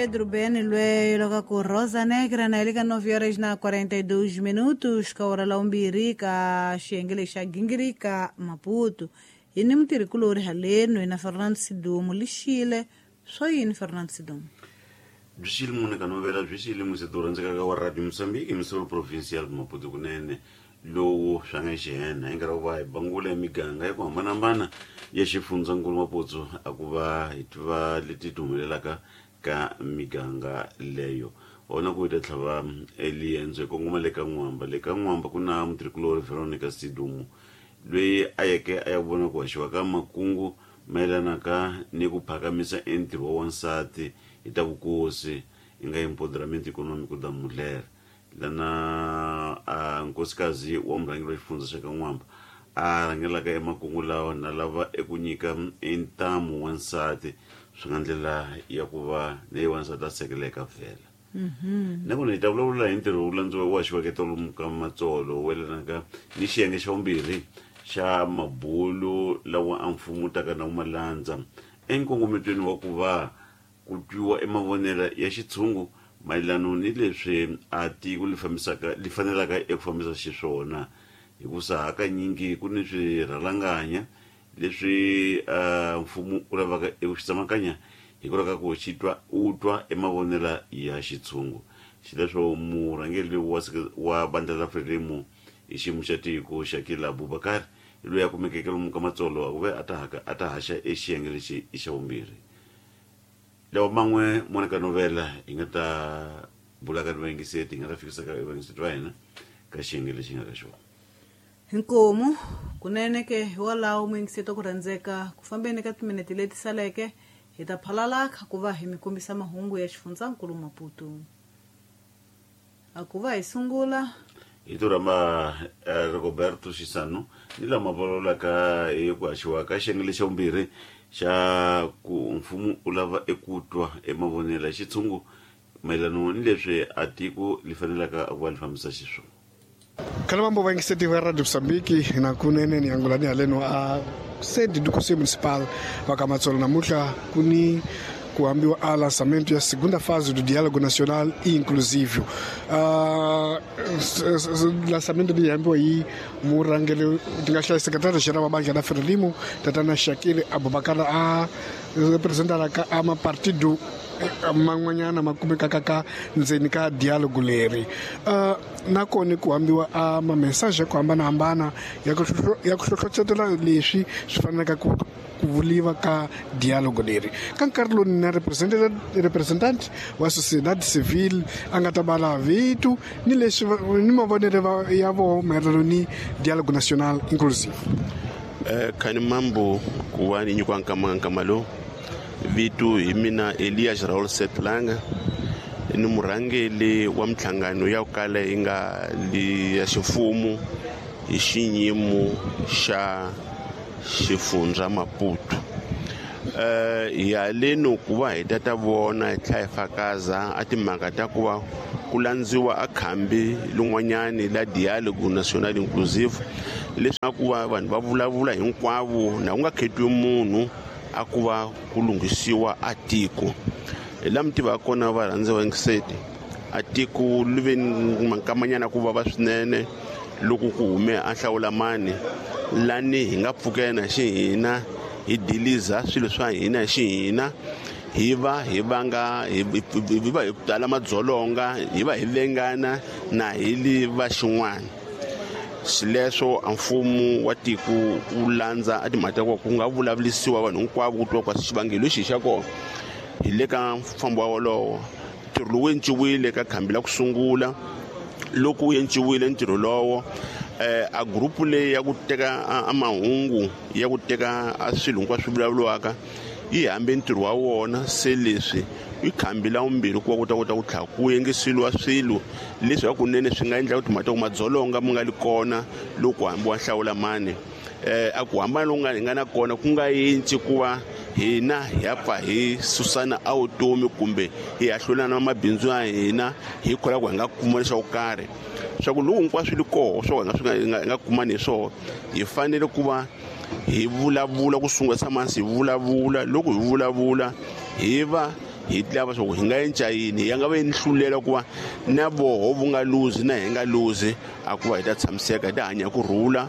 Pedro Ben lweyo loko ku Rosa Negra na le ka 9 horas na 42 minutos ka ora la umbirhi ka xiyenge lexi xa gingirika Maputo. Hi ni mutirhikulori haleno hi na Fernando Sidumo lixile swo yini Fernando Sidumo? Byi xile mune ka novela byi xile museto rhandzekaka wa Radio Mozambique emisoro provincial Maputo kunene lowu swa nga xihena hi nkarhi wa ku va hi bangula emiganga ya ku hambanahambana ya xifundzankulu Maputo a ku va hi tiva leti ti humelelaka ka miganga leyo ona ku hi ta tlhava eliendzo hi kongoma le ka N'wamba. Le ka N'wamba ku na mutirhikulori Veronica Sidumo loyi a yeke a ya vona ku haxiwa ka makungu mayelanaka ni ku phakamisa entirho wa wansati hi ta vukosi i nga empoderamento econômico da mulher lana a nkosikazi wa murhangeri wa xifundza xa ka N'wamba a rhangelaka emakungu lawa na lava eku nyika ntamu wansati swi nga ndlela ya ku va leyi wansati a sekeleka vhela. Nakona hi ta vulavula hi ntirho wu landziwa wu haxiweke tolomu ka Matsolo wu yelanaka ni xiyenge xa vumbirhi xa mabulu lawa a mfumo taka na wu malandza enkongometweni wa ku va ku twiwa emavonelo ya xitshungu mayelano ni leswi a tiko li fambisaka li fanelaka eku fambisa xiswona hikusa hakanyingi ku ni swirhalanganya leswi mfumo wu lavaka eku xi tsemakanya hikwalaho ka ku xi twa u twa emavonelo ya xitshungu. Xileswo murhangeri wa vandla ra Frelimo hi xiyimo xa tiko Shakil Abubakar loyi a kumekeke lomu ka Matsolo a ku ve a ta haka a ta haxa exiyenge lexi i xa vumbirhi. Lawa man'we Monica Novela hi nga ta bulaka ni vayingiseti hi nga ta fikisaka vayingiseti va hina ka xiyenge lexi nga ka xona. Inkomu kunene ke hiwalaho muyingiseti wa ku rhandzeka ku fambeni ka timinete leti saleke hi ta phalala kha ku va hi mi kombisa mahungu ya xifundzankulu Maputo. A ku va hi sungula hi to rhamba Rigoberto Xisano ni lama vulavulaka hi ku haxiwa ka xiyenge lexa vumbirhi xa ku mfumo wu lava eku twa emavonelo ya xitshungu mayelano ni leswi a tiko li fanelaka ku va li fambisa xiswona. Khalemambo vayingiseti va Radio Mozambique na kunene ni angulani haleno a sede do Conselho Municipal wa ka Matsolo namuntlha ku ni ku hambiwa a lançamento ya segunda fase do Diálogo Nacional e Inclusivo. Lançamento leyi hambiwa hi murhangeri ti nga hlaya secretario general wa bandla la Frelimo tatana Shakil Abubakar a representalaka a mapartido man'wanyana ma kumekaka ka ndzeni ka dialogue leri. Nakona ku hambiwa a ma-message ya ku hambanahambana ya ku hlohlotela leswi swi fanelaka ku vuliwa ka dialogue leri. Ka nkarhi lowu na representant wa sociedade civile a nga ta bala vito ni leswi ni mavonelo ya voho mayelana ni dialogue national inclusive. Khani mambo ku va ni nyikiwa nkama lowu vito hi mina Elias Raul Setlanga ni murhangeri wa minhlangano ya ku kala yi nga li ya ximfumo hi xiyimo xa xifundza Maputo. Hi haleno ku va hi ta vona hi tlhela hi fakaza a timhaka ta ku va ku landziwa a khambi lin'wanyani la Dialogue National Inclusive leswaku va vanhu va vulavula hinkwavo na ku nga khetiwi munhu a ku va ku lunghisiwa a tiko. Hi laha mi tivaka kona varhandziwa vayingiseti a tiko li ve ni mankamanyana ku vava swinene loko ku hume a hlawulamani lani hi nga pfukela xi hina hi diliza swilo swa hina xi hina hi va hi vanga hi va hi tala madzolonga hi va hi vengana na hi li va xin'wana. Xileswo a mfumo wa tiko wu landza a timhaka ta ku nga vulavulisiwa vanhu hinkwavo ku twa kwa xivangelo lexi xa kona hi le ka mfambo wa wolowo. Ntirho lowu enciwile ka khambi la ku sungula loko wu enciwile ntirho lowo a group leyi ya ku teka a mahungu ya ku teka a swilo hinkwaswo swi vulavuriwaka yi hambe ntirho wa wona. Se leswi i khambi la vumbirhi ku va ku ta kota ku tlhela ku yengiseliwa swilo leswi hakunene swi nga endla ku timhaka ta ku madzolonga mi nga li kona loko hambiwa hlawula mani. A ku hambana loku nga hi nga na kona ku nga yintsi ku va hina hi ya pfa hi susana a vutomi kumbe hi hahlulana mabindzu ya hina hi kholwa ku hi nga kuma leswaku karhi swa ku loko hinkwaswo li koho swa ku hi nga hi nga kumani hi swona hi fanele ku va hi vulavula ku sungula tshama hansi hi vulavula. Loko hi vulavula hi va Hi lava swa ku hi nga endla yini ya nga va nhlulela ku va na voho vu nga luzi na hi nga luzi a ku va hi ta tshamiseka hi ta hanya ku rhula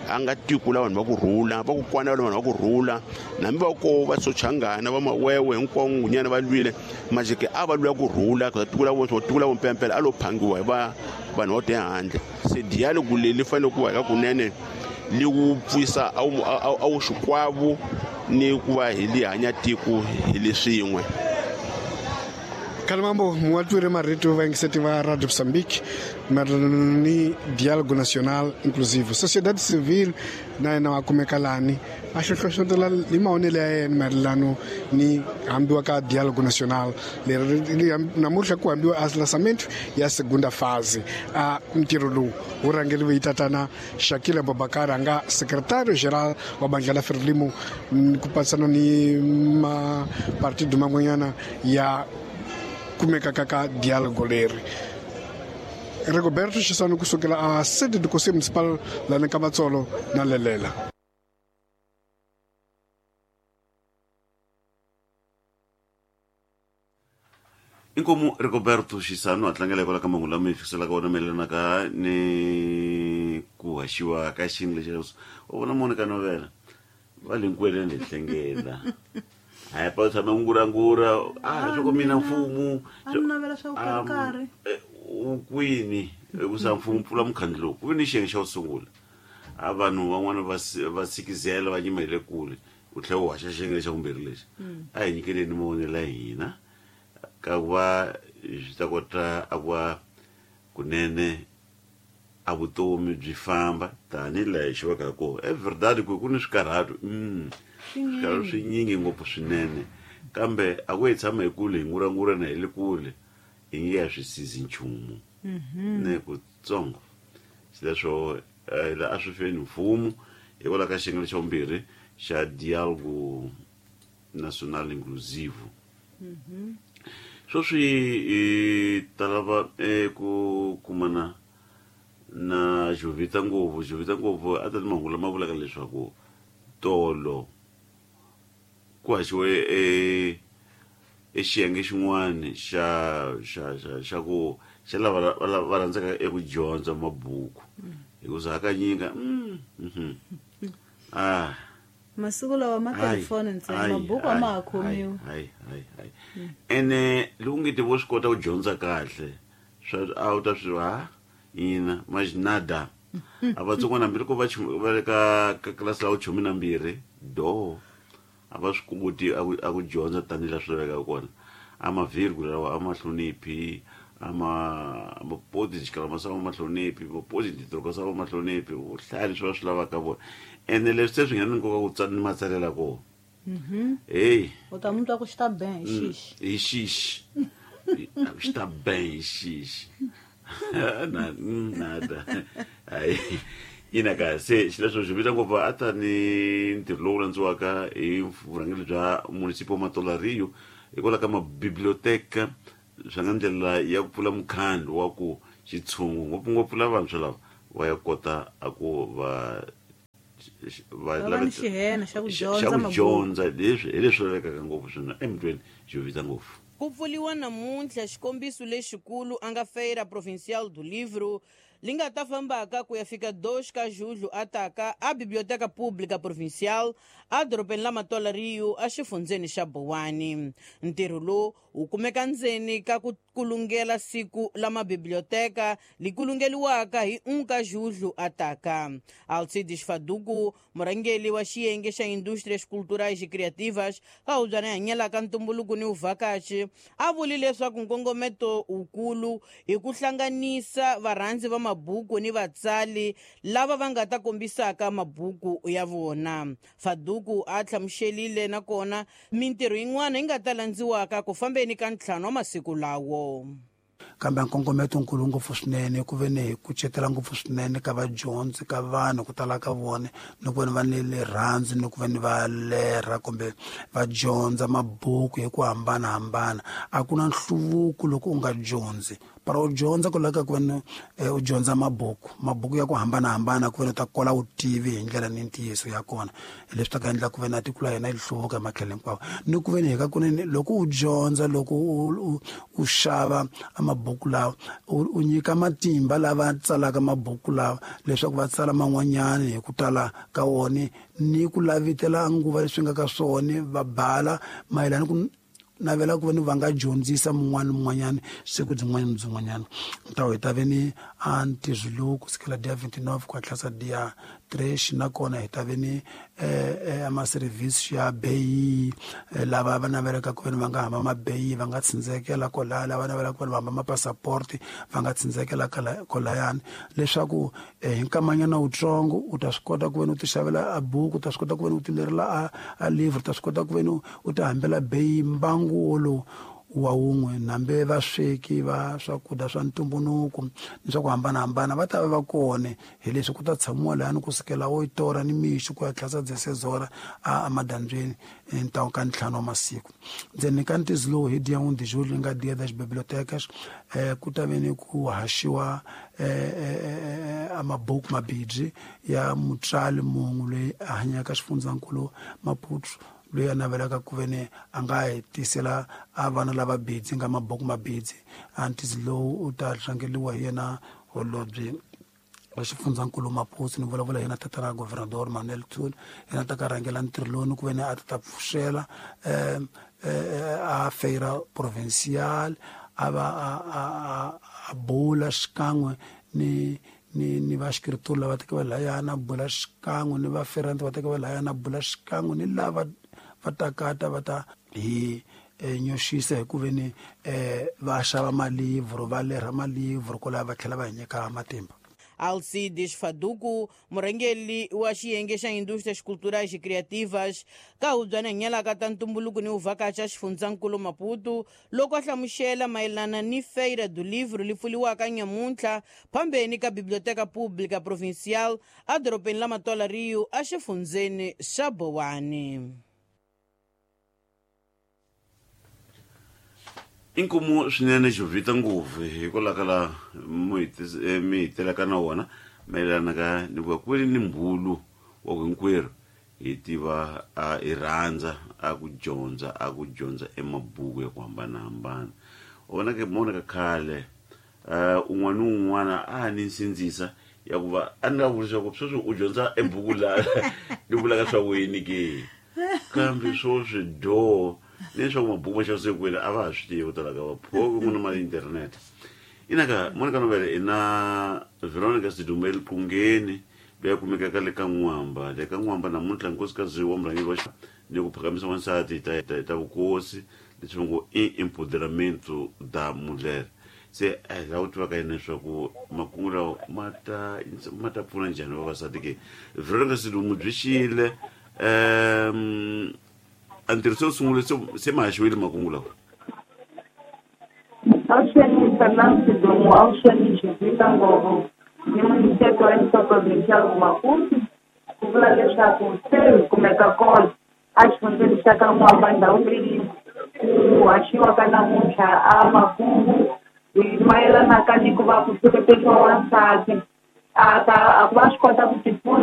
a nga tiko la vanhu va ku rhula va ku kwana vanhu va ku rhula nambi va ko va sochangana va mawewe hinkwawo ngunyana va lwile majike a va lwela ku rhula ka tiko la vo tiko la vompempela a lo phangiwa hi va vanhu vo te handle se dialogue leyi li fanele ku va ka kunene li wu pfisa a wu xikwavo ni ku va hi li hanya tiko hi le swin'we. Kalimambo muwatwire marito vayingiseti va Radio Mozambique mayelana ni Diálogo Nacional Inclusivo. Sociedade Civil na yena wa kumeka lani a hlohlohlotela hi mahonelo ya yena mayelano ni hambiwa ka Diálogo Nacional leri namuntlha ku hambiwa a lançamento ya segunda fase. A ntirho lowu wu rhangeriwe hi tatana Shakila Abubakar a nga secretario geral wa bandla la Frelimo ku patsana ni mapartido man'wanyana ya kumeka ka diálogo leri. Rigoberto Chisano kusukela a sede do Conselho Municipal la Nkabatsolo na Lelela. Inkomu Rigoberto Chisano a tlangela hikwalaho ka mahungu lama hi fikiselaka wona mayelana ka ni ku haxiwa ka xiyenge lexi u vona Monica Novela va le nkweleni hi hlengela. Hayi pa tshama ngurangura a swi ku mina mfumo a ni navela swa ku karhi u kwini hikusa mfumo pfula mukhandlu lowu ku ve ni xiyenge xa ku sungula a vanhu van'wana va sikizela va nyima hi le kule u tlhela u haxa xiyenge xa vumbirhi lexi a hi nyikeleni mavonelo ya hina ka ku va swi ta kota a ku va kunene a vutomi byi famba tanihi laha hi xivaka kona. E verdade ku ni swikarhato swikarhato swinyingi ngopfu swinene kambe a ku hi tshama hi kule hi ngurangura na hi le kule hi nge ya swi sizi nchumu ne kutsongo. Xileswo la a swi feni mfumo hikwalaho ka xiyenge xa vumbirhi xa Diálogo Nacional Inclusivo. Sweswi hi ta lava ku kumana na Jovita Ngopfu. Jovita Ngopfu a ta ni mahungu lama vulaka leswaku tolo ku haxiwe e xiyenge xin'wana xa xa xa xa ku xa lava va rhandzaka eku dyondza mabuku hikuza hakanyingi a masiku lawa ma telefoni ntsena mabuku a ma ha khomiwi. Ene loko nge ti vo swi kota ku dyondza kahle swa a wu ta swi ha ina majinada a vatsongwana hambi loko va le ka tlilasi la vuchumi na mbirhi do a va swi koti a ku dyondza tanihi laha swi lavekaka kona. A mavhirgula lawa a ma hloniphi a ma mapoti xikalama swa ma hloniphi mapoti ntirho swa ma hloniphi u hlaya leswi va swi lavaka vona. Ene leswi se swi nga ni nkoka ku tsala ni matsalela kona. Hey u ta mutwa ku xi ta ben hi xixi hi xixi xi ta ben hi xixi na nada hayi ina ka se xileswo xi vita ngopfu a ta ni ntirho lowu landziwaka hi vurhangeri bya municipal Matola Rio hikwalaho ka mabiblioteka swa nga ndlela ya ku pfula mukhandlu wa ku xitshungu ngopfungopfu lavantshwa lava va ya kota a ku va va ni xihena xa ku dyondza leswi hi leswi lavekaka ngopfu swinene emutweni Jovita Ngopfu. Ku pfuriwa namuntlha xikombiso lexikulu a nga Feira Provincial do Livro li nga ta fambaka ku ya fika 2 ka julho ataka a Biblioteca Pública Provincial a dorobeni la Matola Rio a xifundzeni xa Bowani. Ntirho lowu wu kumeka ndzeni ka ku kulungela siku la mabiblioteka li kulungeliwaka hi 1 ka julho ataka. Alcides Faduku, murhangeri wa xiyenge xa Indústrias Culturais e Criativas ka hubyana hanyelaka ntumbuluko ni vuvhakachi, a vuli leswaku nkongometo wukulu hi ku hlanganisa varhandzi va mabuku ni vatsali lava va nga ta kombisaka mabuku ya vona. Faduku a hlamuselile nakona mintirho yin'wana yi nga ta landziwaka ku fambeni ka ntlhanu wa masiku lawo. Kambe nkongometo nkulu ngopfu swinene ku ve ni hi kucetela ngopfu swinene ka vadyondzi ka vanhu ku tala ka vona ni ku veni va ni rirhandzu ni ku veni va lerha kumbe va dyondza mabuku hi ku hambanahambana. A ku na nhluvuko loko u nga dyondzi. Para u dyondza ku laveka ku veni u dyondza mabuku ya ku hambanahambana ku veni u ta kola vutivi hi ndlela ni ntiyiso ya kona. Hi leswi ta ka endla ku veni a tiko la hina yi hluvuka hi matlhelo hinkwawo. Ni ku veni hi ka kunene loko u dyondza loko u xava mabuku lawa u nyika matimba lava tsalaka mabuku lawa leswaku va tsala man'wanyana hi ku tala ka wona ni ku lavitela nguva leswi nga ka swona va bala mayelana ku navela ku veni va nga dyondzisa mun'wana ni mun'wanyana siku byin'wana ni byin'wanyana. Ntawo hi ta ve ni a ntirho lowu ku sukela dia 29 ku hatlisa dia 3 nakona hi ta ve ni ama-service ya beyi lava va navelaka ku veni va nga hamba mabeyi va nga tsindzekela kwalaya, lava navelaka ku veni va hamba mapassaporti va nga tsindzekela kwalayani leswaku hi nkamanyana wutsongo u ta swi kota ku veni u ti xavela a buku, u ta swi kota ku veni u ti lerela a livre, u ta swi kota ku veni u ti hambela beyi mbangu wolowo wa wun'we. Nambe vasweki va swakudya swa ntumbuluko ni swa ku hambanahambana va ta va va kona hi leswi ku ta tshamiwa lahani kusukela oitora ni mixo ku ya tlhasa dzesezora a madyambyini ntawu ka 5 wa masiku. Ndzeni ka ntizi lowu hi dia 1 de julho nga dia das bibliotecas ku ta ve ni ku haxiwa a mabuku mabidzi ya mutswari munhu loyi a hanyaka xifundzankulu Maputo loyi a navelaka ku ve ni a nga hi tisela a vana lava bidzi nga mabuku mabidzi. A ntizi lowu u ta hlangeliwa hi yena holobye wa xifundzankulu Maputo ni vulavula hi yena tatana Governador Manuel Thuli, yena ta ka rhangela ntirho lowu ni ku ve ni a ta pfuxela a feira provincial a va a bula xikan'we ni va xikritori lava teke va layana bula xikan'we ni va ferante va teke va layana bula xikan'we ni lava va takata va ta hi nyoxisa hi ku ve ni va xava malivhro va lerha malivhro kwalaho va tlhela va hi nyika matimba. Alcides Faduku, murhangeri wa xiyenge xa Indústrias Culturais e Criativas ka hubyana nyalaka ta ntumbuluko ni uvhakacha xifundzankulu Maputo, loko a hlamusela mayelana ni Feira do Livro li pfuliwaka nyamuntlha phambeni ka Biblioteca Pública Provincial edorobeni la Matola Rio exifundzeni xa Bowani. Inkomu swinene xovita ngopfu hikwalaho ka laha mi hitelaka na wona mayelana ka ni ku ku ni mbulu wa ku hinkwerhu hi tiva hi rhandza a ku dyondza emabuku ya ku hambanahambana. U vona ke mona ka khale un'wana ni un'wana a ni nsindzisa ya ku va a ni nga vuli swa ku sweswi u dyondza ebuku laha ni vulaka swa ku yini ke kambe swoswi doo leswaku mabuku ma xavisiwe kwini a va ha swi tivi ku tala ka vaphoki ku na mali internet. Inaka Monica Novele i na Veronica Sidumba eLiqungeni loyi a kumekaka le ka N'wamba. Le ka N'wamba namuntlha nkosikazi wa murhangeri wa ni ku phakamisa wansati ta vukosi leswi va ngo i empoderamento da mulher. Se a hi lava ku tiva ka yena leswaku makungu lawa ma ta pfuna njhani vavasati ke. Veronica Sidumo byi xile a ntirho se wu sungule se ma haxiwile makungu lawa. Avuxeni Fernando Sidumo, avuxeni Jovita Ngovo ni muniteto wa Emissora Provincial Maputo ku vula leswaku se hi kumeka kona a xifundzeni xa ka N'wamba ndhawu leyi ku haxiwaka namuntlha a makungu hi mayelanaka ni ku va ku hlohloteriwa wansati a ta a ku va swi kota ku tipfuna